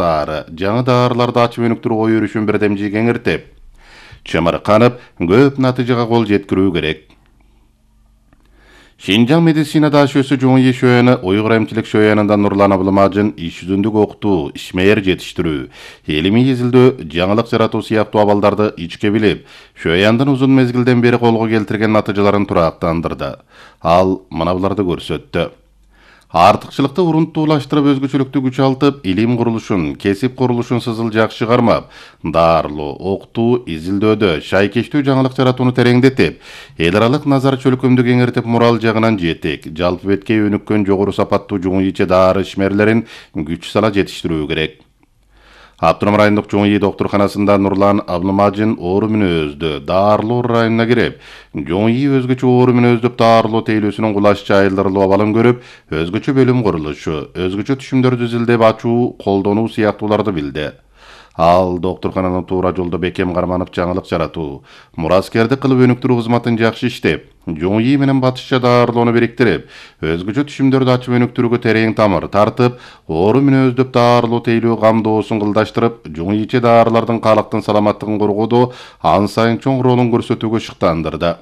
жаңы даарыларды ачып өнүктүрүү ой өрүшүн бирдемжи кеңиртип, чымырканып, көп натыйжага кол жеткирүү керек. Шинжаң медицина дашөсү Жоңи шөйөнү Уйгур эмчилик шөйөнүндө Нурлан Абылмажын иш жүзүндүк окутуу, ишмер жетиштирүү, илимий изилдөө, жаңылык жаратуу сыяктуу абалдарды ичке билип, шөйөндүн узун мезгилден бери колго келтирген натыйжаларын турактандырды. Ал мына буларды көрсөттү. Артыкчылыкты урунтуулаштырып, өзгөчөлүктү күчалтып, илим курулушун, кесип курулушун сызылжак чыгармап, дарылоо, окутуу, изилдөөдө шайкештүү жаңылык жаратууну тереңдетип, эл аралык назар чөлкөмдү кеңиртип, мурал жагынан жетик, жалпы бетке өнүккөн жогору сапаттуу Жоңийче дары ишмерлерин күч сала жетиштирүү керек. Автоном райондук Жоңи доктурканасында Нурлан Абылмажын оору мүнөздүү дарылоо районуна кирип, Жоңи өзгөчө оору мүнөздүү дарылоо тейлөөсүнүн кулаш жайылдырылуу абалын көрүп, өзгөчө бөлүм курулушу, өзгөчө түшүмдөрдү изилдеп ачуу, колдонуу сыяктууларды билди. Ал доктуркананын туура жолдо бекем карманып жаңылык жаратуу, мураскердик кылып өнүктүрүү кызматын жакшы иштеп, Жоңи менен батышча дарылоону бириктирип, өзгөчө түшүмдөрдү ачып өнүктүрүүгө терең тамыр тартып, оору мүнөздөп дарылоо тейлөө камдоосун кылдаштырып, Жоңийче дарылардын калктын саламаттыгын коргоодо ан сайын чоң ролун көрсөтүүгө шыктандырды.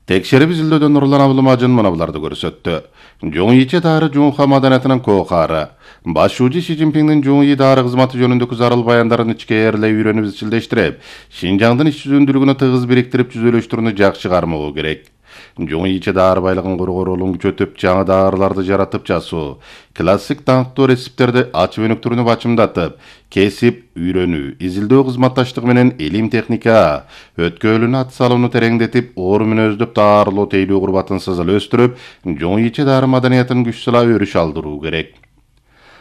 Текшерип изилдөөдө Нурлан Абылмажын мына буларды көрсөттү. Жоңийче дары Жоңха маданиятынын кокары. Башчы Си Цзиньпиндин Жоңи дары кызматы жөнүндөгү зарыл баяндарын ичкээрлей үйрөнүп изилдештирип, Шинжаңдын иш жүзүндүүлүгүнө тыгыз бириктирип жүзөлөштүрүүнү жакшы кармоо керек. Жоңийче дары байлыгын коргоо ролун күчөтүп, жаңы дарыларды жаратып жасоо, классик даңктуу рецепттерди ачып өнүктүрүүнү бачымдатып, кесип, үйрөнүү, изилдөө кызматташтыгы менен илим техника, өткөөлүүнү ат салууну тереңдетип, оору мүнөздөп дарылоо тейлөө курбатын сызыл өстүрүп, Жоңийче дары маданиятын күч сала өрүш алдыруу керек.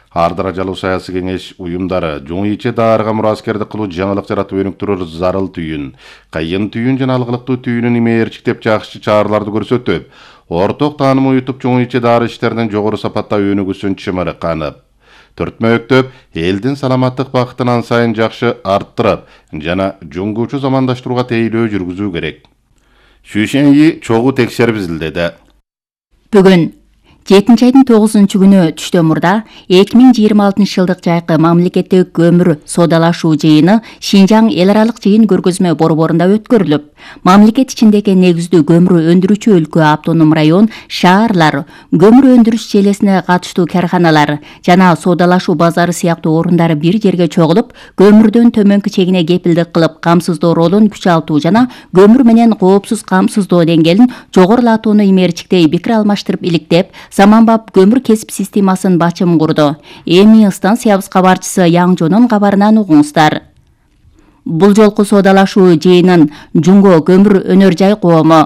Ар даражалуу саясий кеңеш уюмдары Жоңийче дарыга мураскердик кылуу, жаңылык жаратып өнүктүрүү зарыл түйүн, кыйын түйүн жана алгылыктуу түйүнүн имээрчиктеп жакшы чараларды көрсөтүп, орток тааным уютуп, Жоңийче дары иштеринин жогору сапатта өнүгүүсүн чымырканып, төртмөктөп, элдин саламаттык бакытын ан сайын жакшы арттырып жана жоңгуучу замандаштырууга тейлөө жүргүзүү керек. Шүшеньи чогуу текшерип изилдеди. Бүгүн 7 айдын 9 күнү түштөн мурда 2026 жылдык жайкы мамлекеттик көмүр соодалашуу жыйыны Шинжаң эл аралык жыйын көргөзмө борборунда өткөрүлүп, мамлекет ичиндеги негиздүү көмүр өндүрүүчү өлкө, автоном район, шаарлар, көмүр өндүрүш желесине катыштуу карханалар жана соодалашуу базары сыяктуу орундар бир жерге чогулуп, көмүрдөн төмөнкү чегине кепилдик кылып, камсыздоо ролун күчалтуу жана көмүр менен коопсуз камсыздоо деңгээлин жогорулатууну имээрчиктей пикир алмаштырып иликтеп, заманбап көмүр кесип системасын бачым курду. Эми станциябыз кабарчысы Яңжонун кабарынан угуңуздар. Бул жолку соодалашуу жыйынын Жунго көмүр өнөр жай коому,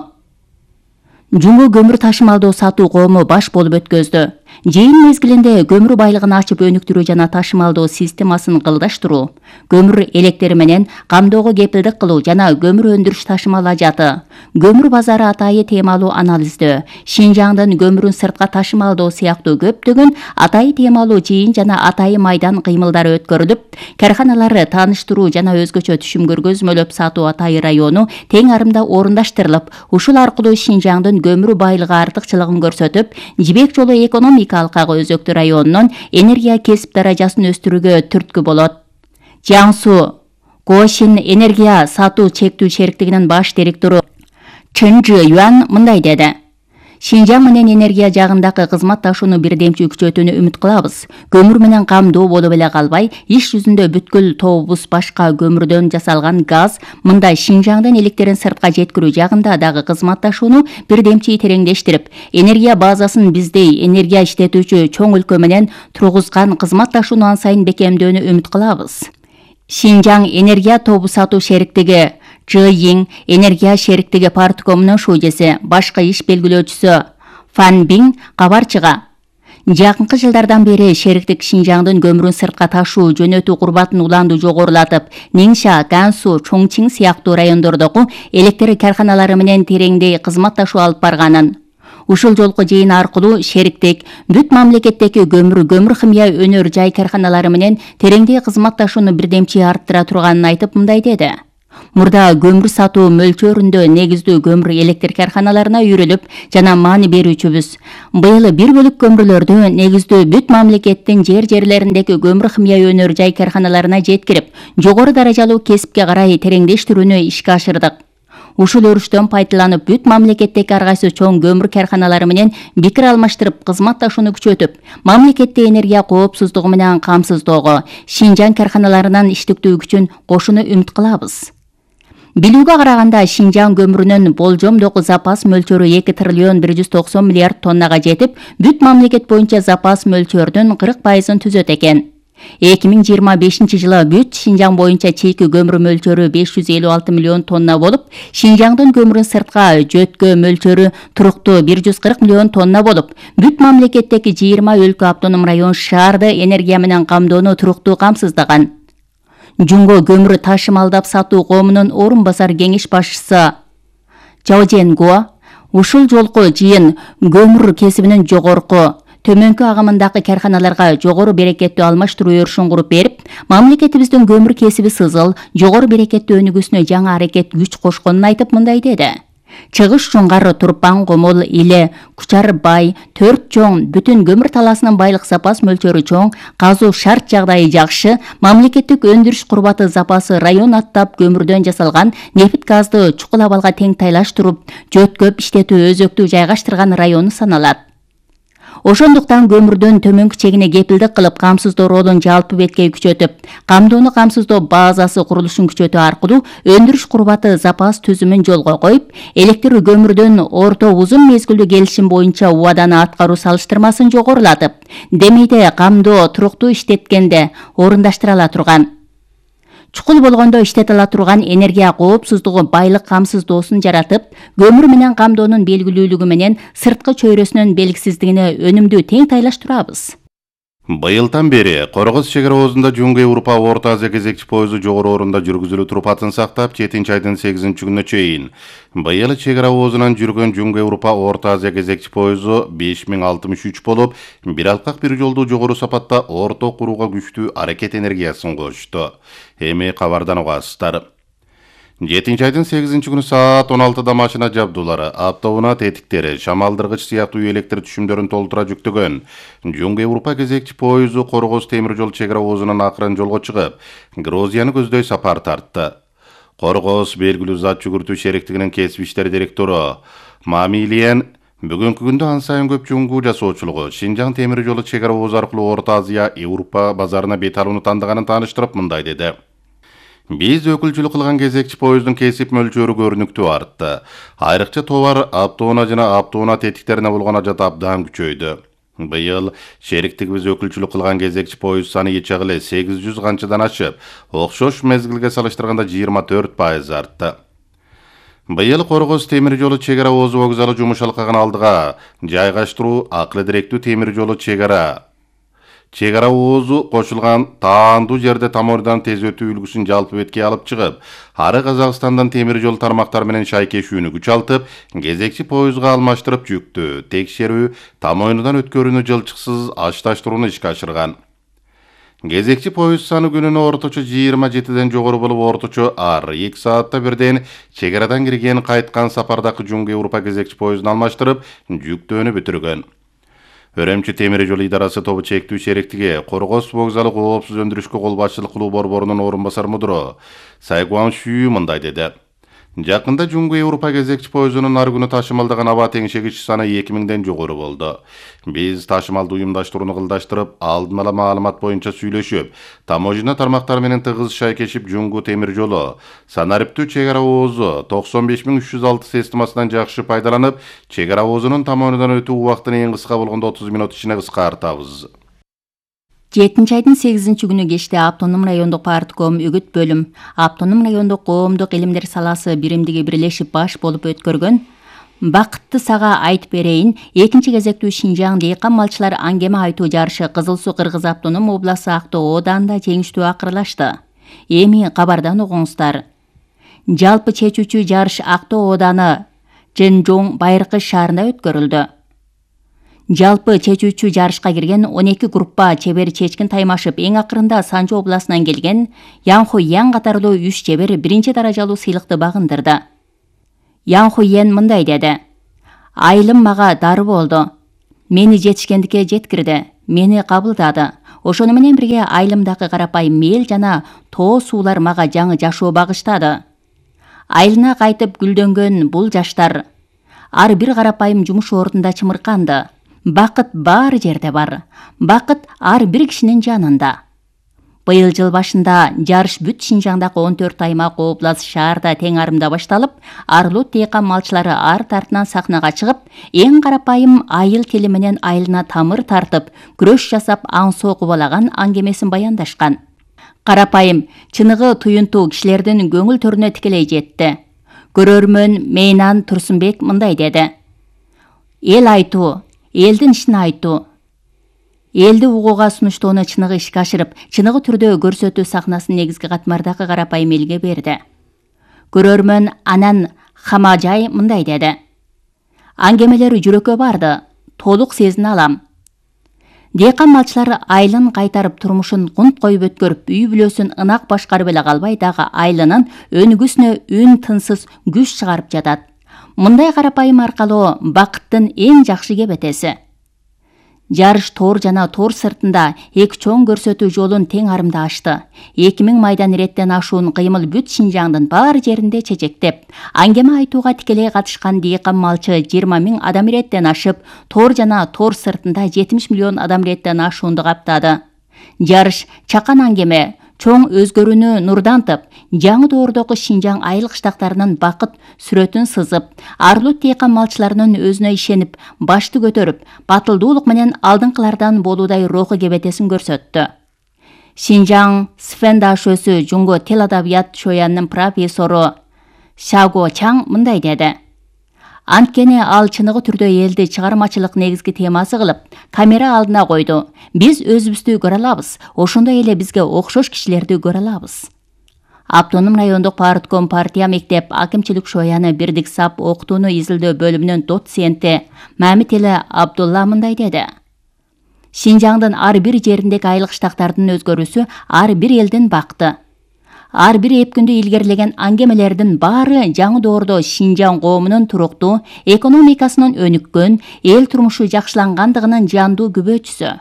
Жунго көмүр ташымалдоо сатуу коому баш болуп өткөздү. Жыйын мезгилинде көмүр байлыгын ачып өнүктүрүү жана ташымалдоо системасын кылдаштыруу, көмүр электери менен камдоого кепилдик кылуу жана көмүр өндүрүш ташымал ажаты, көмүр базары атайы темалуу анализдөө, Шинжаңдын көмүрүн сыртка ташымалдоо сыяктуу көптөгөн атайы темалуу жыйын жана атайы майдан кыймылдары өткөрүлүп, карханалары тааныштыруу жана өзгөчө түшүм көргөзмөлөп сатуу атайы району тең арымда орундаштырылып, ушул аркылуу Шинжаңдын көмүр байлыгы артыкчылыгын көрсөтүп, Жибек жолу экономикалык өзөктүү районунун энергия кесип даражасын өстүрүүгө түрткү болот. Жаңсу Гошин энергия сатуу чектүү шериктигинин баш директору Чын Жы Юан мындай деди. Шинжаң менен энергия жагындагы кызматташууну бирдемчи күчөтүүнү үмүт кылабыз. Көмүр менен камдоо болуп эле калбай, иш жүзүндө бүткүл тобубуз башка көмүрдөн жасалган газ, мындай Шинжаңдын электерин сыртка жеткирүү жагында дагы кызматташууну бирдемчи тереңдештирип, энергия базасын биздей энергия иштетүүчү чоң өлкө менен тургузган кызматташууну ан сайын бекемдөөнү үмүт кылабыз. Шинжаң энергия тобу сатуу шериктиги Чыйин энергия шериктиги парткомунун шужеси, башкы иш белгилөөчүсү Фан Бин кабарчыга жакынкы жылдардан бери шериктик Шинжаңдын көмүрүн сыртка ташуу жөнөтүү курбатын уланды жогорулатып, Ниңша, Гансу, Чоңчиң сыяктуу райондордогу электр карханалары менен тереңдей кызматташуу алып барганын, ушул жолку жыйын аркылуу шериктик бүт мамлекеттеги көмүр химия өнөр жай карханалары менен тереңдей кызматташууну бирдемчи арттыра турганын айтып, мындай деди. Мурда көмүр сатуу мөлчөрүндө негиздүү көмүр электр карханаларына үйрөлүп жана маани берүүчүбүз. Быйыл бир бөлүк көмүрлөрдү негиздүү бүт мамлекеттин жерлериндеги көмүр химия өнөр жай карханаларына жеткирип, жогору даражалуу кесипке карай тереңдештирүүнү ишке ашырдык. Ушул өрүштөн пайдаланып бүт мамлекеттеги ар кайсы чоң көмүр карханалары менен пикир алмаштырып, кызматташууну күчөтүп, мамлекетти энергия коопсуздугу менен камсыздоого, Шинжаң карханаларынын иштиктүү күчүн кошууну үмүт кылабыз. Билүүгө караганда Шинжаң көмүрүнүн болжомдогу запас мөлчөрү 2 триллион 190 миллиард тоннага жетип, бүт мамлекет боюнча запас мөлчөрдүн 40%-ын түзөт экен. 2025 жылы бүт Шинжаң боюнча чийки көмүр мөлчөрү 556 миллион тонна болуп, Шинжаңдын көмүрүн сыртка жөткө мөлчөрү туруктуу 140 миллион тонна болуп, бүт мамлекеттеги 20 өлкө, автоном район, шаарды энергия менен камдоону туруктуу камсыздаган. Жумго көмүр ташымалдап сатуу коомунун орун басар кеңеш башчысы Чао Женгуо ушул жолку жыйын көмүр кесибинин жогорку төмөнкү агымындагы карханаларга жогору берекеттүү алмаштыруу өрүшүн куруп берип, мамлекетибиздин көмүр кесиби сызыл, жогору берекеттүү өнүгүүсүнө жаңы аракет күч кошконун айтып мындай деди. Чыгыш Чуңгар, Турпан, Комол, Иле, Кучар, Бай, 4 чоң бүтүн көмүр талаасынын байлык запас мөлчөрү чоң, казуу шарт жагдайы жакшы, мамлекеттик өндүрүш курбаты запасы район аттап көмүрдөн жасалган нефт газды чукул абалга тең тайлаштырып, жөткөп иштетүү өзөктүү жайгаштырган району саналат. Ошондуктан көмүрдөн төмөнкү чегине кепилдик кылып, камсыздоо ролун жалпы беткей күчөтүп, камдоону камсыздоо базасы курулушун күчөтүү аркылуу өндүрүш курбаты запас түзүмүн жолго коюп, электр көмүрдөн орто узун мезгилдүү келишим боюнча убаданы аткаруу салыштырмасын жогорулатып, демейде камдоо туруктуу иштеткенде орундаштырыла турган. Чукул болгондо иштете ала турган энергия коопсуздугу байлык камсыздоосун жаратып, көмүр менен камдоонун белгилүүлүгү менен сырткы чөйрөсүнүн белгисиздигине өнүмдүү тең тайлаштырабыз. Быйылдан бери Коргоз чек ара оозунда Жумго Европа Орто Азия кезекчи пойызу жогору орунда жүргүзүлүү туруп атын сактап, 7 айдын 8 күнүнө чейин. Быйыл чек ара оозунан жүргөн Жумго Европа Орто Азия кезекчи пойызу 5063 болуп, бир алкак бир жолдуу жогору сапатта орто курууга күчтүү аракет энергиясын кошту. Эми кабардан угасыздар. 7 айдын 8 күнү саат 16-да машина жабдуулары, автоунаа тетиктери, шамалдыргыч сыяктуу электр түшүмдөрүн толтура жүктөгөн Жумго Европа кезекчи пойызу Коргоз темир жол чек ара оозунан акырын жолго чыгып, Грузияны көздөй сапар тартты. Коргоз белгилүү зат жүгүртүү шериктигинин кесип иштери директору Мамилиен бүгүнкү күндө ан сайын көп жуңгуу жасоочулугу Шинжаң темир жолу чек ара оозу аркылуу Орто Азия, Европа базарына бет алууну тандыганын тааныштырып мындай деди. Биз өкүлчүлүк кылган кезекчи пойыздын кесип мөлчөрү көрүнүктүү артты. Айрыкча товар, автоунаа жана автоунаа тетиктерине болгон ажат абдан күчөйдү. Быйыл шериктигибиз өкүлчүлүк кылган кезекчи поезд саны ичек эле 800 канчадан ашып, окшош мезгилге салыштырганда 24% артты. Быйыл Коргоз темир жолу чек ара оозу вокзалы жумуш алкагын алдыга жайгаштыруу акылы директүү темир жолу чек ара оозу кошулган таандуу жерде тамойрдан тез өтүү үлгүсүн жалпы бетке алып чыгып, ары Казакстандан темир жол тармактары менен шайкешүүнү күчалтып, кезекчи поездга алмаштырып жүктү, текшерүү, тамойрдан өткөрүүнү жылчыксыз ашташтырууну ишке ашырган. Кезекчи поезд саны күнүнө орточо 27ден жогору болуп, орточо ар 2 саатта бирден чек арадан кирген кайткан сапардагы Жумго Европа кезекчи поездун алмаштырып, жүктөөнү бүтүргөн. Өрөмчү темир жол идарасы тобу чектүү шериктиги Коргоз вокзалы коопсуз өндүрүшкө кол башчылык кылуу борборунун орун басар мудуру Сайгуан Шүү мындай деди. Жакында Жумго Европа кезекчи поездунун ар күнү ташымалдаган аба теңшегич саны 2000ден жогору болду. Биз ташымалды уюмдаштырууну кылдаштырып, алдын ала маалымат боюнча сүйлөшүп, таможня тармактары менен тыгыз шайкешип, Жумго темир жолу санариптүү чек ара оозу 95306 системасынан жакшы пайдаланып, чек ара оозунун тамойрдан өтүү убактын эң кыска болгондо 30 мүнөт ичинде кыскартабыз. 7 айдын 8 күнү кечте Автоном райондук партком үгүт бөлүм, Автоном райондук коомдук илимдер саласы биримдиги бирлешип баш болуп өткөргөн Бакытты сага айтып берейин, экинчи кезектүү Шинжаң дыйкан малчылар аңгеме айтуу жарышы Кызыл Суу Кыргыз автоном областы Актоо ооданында жеңиштүү акырылашты. Эми кабардан угуңуздар. Жалпы чечүүчү жарыш Актоо ооданы Женжоң Байыркы шаарында өткөрүлдү. Жалпы чечүүчү жарышка кирген 12 группа чебер чечкин таймашып, эң акырында Санжу областынан келген Ян Хуйян катарлуу 3 чебер биринчи даражалуу сыйлыкты багындырды. Ян Хуйян мындай деди: "Айылым мага дары болду. Мени жетишкендикке жеткирди, мени кабылдады. Ошону менен бирге айылымдагы карапайым мел жана тоо суулар мага жаңы жашоо багыштады. Айылына кайтып гүлдөнгөн бул жаштар ар бир карапайым жумуш ордунда чымырканды. Бакыт баары жерде бар. Бакыт ар бир кишинин жанында." Быйыл жыл башында жарыш бүт Шинжаңдагы 14 аймак, область, шаарда тең арымда башталып, Арлут дыйкан малчылары ар тартынан сахнага чыгып, эң карапайым айыл тили менен айылына тамыр тартып, күрөш жасап, аң соо кубалаган аңгемесин баяндашкан. Карапайым, чыныгы туюнтуу кишилердин көңүл төрүнө тикелей жетти. Көрөрмөн Мейнан Турсунбек мындай деди: "Эл айтуу, элдин ишин айтуу. Элди угууга сунуштоону чыныгы ишке ашырып, чыныгы түрдө көрсөтүү сахнасын негизги катмардагы карапайым элге берди." Көрөрмөн Анан Хамажай мындай деди: "Аңгемелер жүрөккө барды, толук сезине алам. Дыйкан малчылар айылын кайтарып, турмушун кунт коюп өткөрүп, үй бүлөсүн ынак башкарып эле калбай, дагы айылынын өнүгүүсүнө үн тынсыз күч чыгарып жатат. Мындай карапайым аркалуу бакыттын эң жакшы кебетеси." Жарыш тор жана тор сыртында эки чоң көрсөтүү жолун тең арымда ачты. 2000 майдан иреттен ашуун кыймыл бүт Шинжаңдын бар жеринде чечектеп, аңгеме айтууга тикелей катышкан дыйкан малчы 20 000 адам иреттен ашып, тор жана тор сыртында 70 миллион адам иреттен ашуунду каптады. Жарыш чакан аңгеме, чоң өзгөрүүнү нурдантып, жаңы доордогу Шинжаң айыл кыштактарынын бакыт сүрөтүн сызып, Арлут дыйкан малчыларынын өзүнө ишенип, башты көтөрүп, батылдуулук менен алдыңкылардан болуудай руху кебетесин көрсөттү. Шинжаң Сфен дашөсү Жунго тил адабият шоянынын профессору Шаго Чаң мындай деди: "Анткени ал чыныгы түрдө элди чыгармачылык негизги темасы кылып, камера алдына койду. Биз өзүбүздү көрө алабыз, ошондой эле бизге окшош кишилерди көрө алабыз." Автоном райондук партком партия мектеп акимчилик шояны Бирдик САП окутууну изилдөө бөлүмүнүн доценти Мамители Абдулла мындай деди: "Шинжаңдын ар бир жериндеги айыл кыштактардын өзгөрүүсү ар бир элдин бакыты. Ар бир эпкүндү илгерилеген аңгемелердин баары жаңы доордо Шинжаң коомунун туруктуу, экономикасынын өнүккөн, эл турмушу жакшылангандыгынын жандуу күбөчүсү."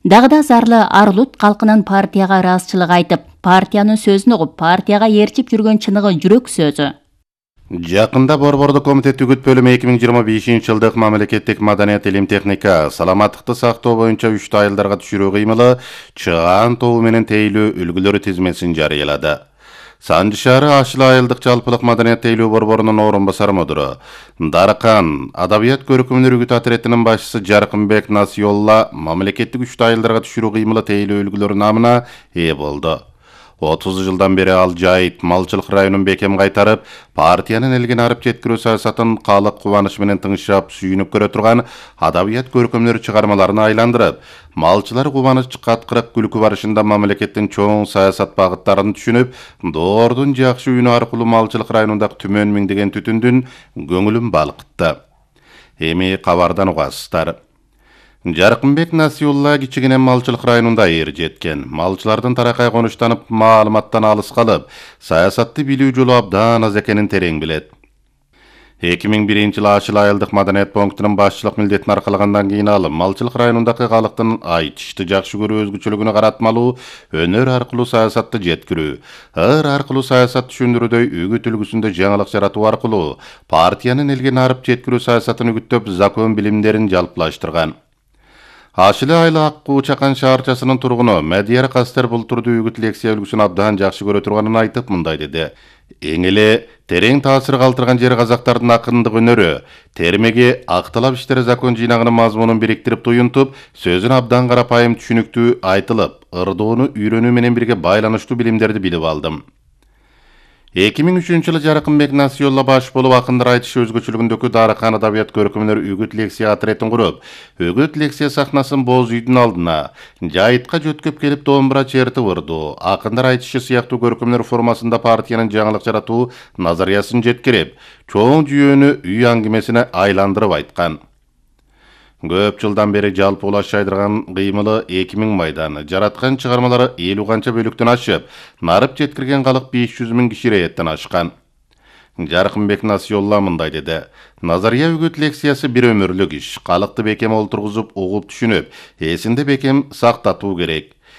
Дагы да зарлы Арлут калкынын партияга ыраазычылык айтып, партиянын сөзүн угуп, партияга ээрчип жүргөн чыныгы жүрөк сөзү. Жакында Борбордук комитет үгүт бөлүмү 2025 жылдык мамлекеттик маданият, илим, техника, саламаттыкты сактоо боюнча 3 айылдарга түшүрүү кыймылы чыгаан тобу менен тейлөө үлгүлөрү тизмесин жарыялады. Санжы шаары Ашыл айылдык жалпылык маданият тейлөө борборунун орун басар мудуру Даркан адабият көркөмдөр үгүт отрядынын башчысы Жаркынбек Насиолла мамлекеттик 3 айылдарга түшүрүү кыймылы тейлөө үлгүлөрү намына ээ болду. 30 жылдан бери ал жайыт малчылык районун бекем кайтарып, партиянын элге арып жеткирүү саясатын калык кубаныч менен тыңшап, сүйүнүп көрө турган адабият көркөмдөр чыгармаларына айландырып, малчылар кубаныч каткырык күлкү барышында мамлекеттин чоң саясат багыттарын түшүнүп, доордун жакшы үнү аркылуу малчылык районундагы түмөн миңдеген түтүндүн көңүлүн балкытты. Эми кабардан угасыздар. Жаркынбек Насиулла кичигине малчылык районунда эр жеткен. Малчылардын таракай конуштанып, маалыматтан алыс калып, саясатты билүү жолу абдан аз экенин терең билет. 2001 жылы Ашыл айылдык маданият пунктунун башчылык милдетин аркалагандан кийин ал малчылык районундагы калктын айтышты жакшы көрүү өзгөчөлүгүнө каратмалуу өнөр аркылуу саясатты жеткирүү, ыр аркылуу саясат түшүндүрүүдөй үгүт үлгүсүндө жаңылык жаратуу аркылуу партиянын элге арып жеткирүү саясатын үгүттөп, закон билимдерин жалпылаштырган. Ашыл айылы Аккуу Чакан шаарчасынын тургуну Медияр Кастер бул турдуу үгүт лекция үлгүсүн абдан жакшы көрө турганын айтып мындай деди: "Эң эле терең таасир калтырган жери казактардын акындык өнөрү. Термеги акталап иштери закон жыйнагынын мазмунун бириктирип туюнтуп, сөзүн абдан карапайым түшүнүктүү айтылып, ырдоону үйрөнүү менен бирге байланыштуу билимдерди билип алдым." 2003 жылы Жаркынбек Насиолла баш болуп акындар айтышы өзгөчөлүгүндөгү Даркан адабият көркөмдөр үгүт лекция отрядын куруп, үгүт лекция сахнасын боз үйдүн алдына, жайытка жөткөп келип домбура чертип ырдоо, акындар айтышы сыяктуу көркөмдөр формасында партиянын жаңылык жаратуу назариясын жеткирип, чоң жүйөнү үй аңгемесине айландырып айткан. Көп жылдан бери жалпы улаш жайдырган кыймылы 2000 майдан, жараткан чыгармалары 50 канча бөлүктөн ашып, нарып жеткирген калык 500 000 киши рээттен ашкан. Жаркынбек Насиолла мындай деди. Назария үгүт лекциясы бир өмүрлүк иш. Калыкты бекем олтургузуп, угуп түшүнүп, эсинде бекем сактатуу керек.